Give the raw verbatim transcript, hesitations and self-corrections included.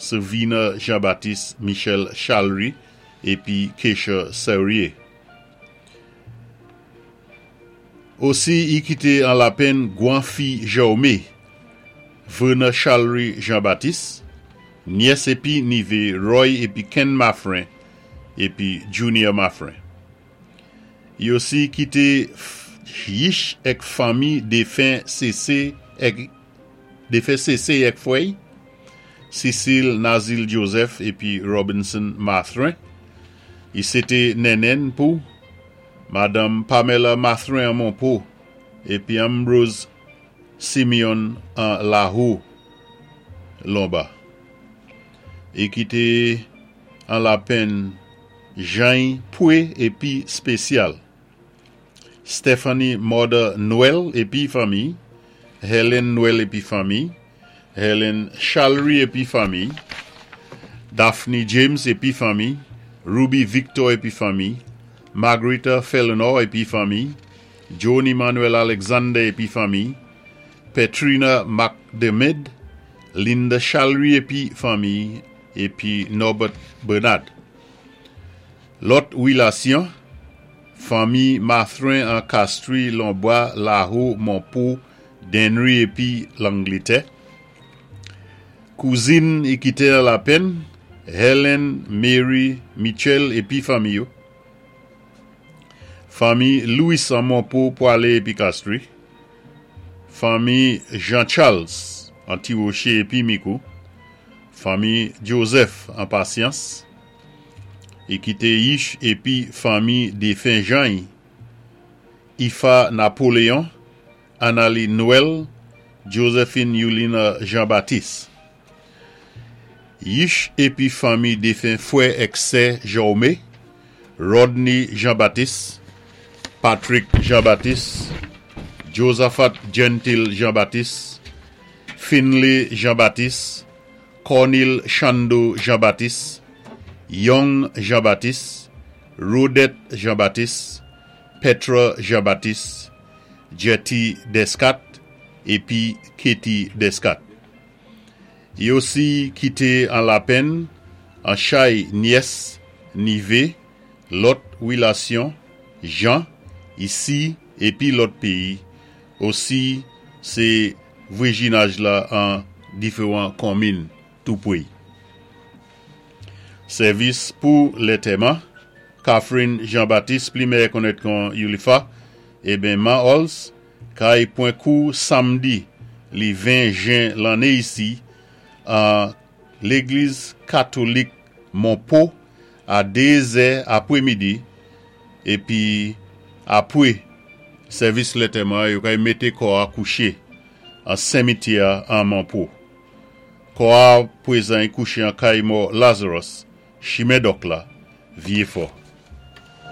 Sylvina Jean-Baptiste, Michel Chalry, épi Keisha Serrier. Osi, i kité an lapenn Gwanfi Jaume, Verna Chalry Jean-Baptiste, nyès épi nivé Roy épi Ken Maffrin, épi Junior Maffrin. I osi kité yich èk fanmi défen C C èk défen C C èk fwè'y, Cécile Nazil Joseph épi Robinson Mathrin. I sété nènèn pou Madanm Pamela Mathrin an Monpo épi Ambrose Simeon an Lahou Lomba. I kité an lapenn Jean Poué épi Spécial. Stephanie Mother Noël épi fanmi, Helen Noël épi fanmi, Helen Chalry épi fanmi, Daphne James épi fanmi, Ruby Victor épi fanmi, Margarita Felenor épi fanmi, John Emmanuel Alexander épi fanmi, Petrina McDermid, Linda Chalry épi fanmi, épi Norbert Bernard. Lòt wilasyon, fanmi Mathrin an Castries, Lombois, Lahou, Monpo, Denry épi Langletè. Kouzin i kité an lapenn, Helen Mary Mitchell épi fanmi yo. Fanmi Louis an Monpo, Poilé épi Castries. Fanmi Jean-Charles an Tirocher épi Mikou. Fanmi Joseph an Patience. I kité yich épi fanmi défen Jean Ifa Napoléon, Annalie Noël, Josephine Yulina Jean-Baptiste. Yich épi fanmi défen fwè èk sè Jaume, Rodney Jean-Baptiste, Patrick Jean-Baptiste, Josaphat Gentil Jean-Baptiste, Finley Jean-Baptiste, Cornel Chando Jean-Baptiste, Young Jean-Baptiste, Rodette Jean-Baptiste, Petra Jean-Baptiste, Jetty Descat, épi Katie Descat. I osi kité an lapenn, an chay nyès, nivé, lòt wilasyon, Jean, isi, épi lòt péyi, osi sé vwéjinaj la an diféwan konmin tou pwé. Sèvis pou lantèman, Catherine Jean-Baptiste, pli mèyè konnèt kon Yulifa, eben Man Ols, kay pwan kou samdi li ven jen lanné isi, an légliz katolik Monpo a dé zè apwémidi, épi apwé sèvis lantèman yo kay mété kò a kouché an simityè an Monpo. Kò a pwézan kouché an kay mò Lazarus, Chimen Dòk la, Vyéfò.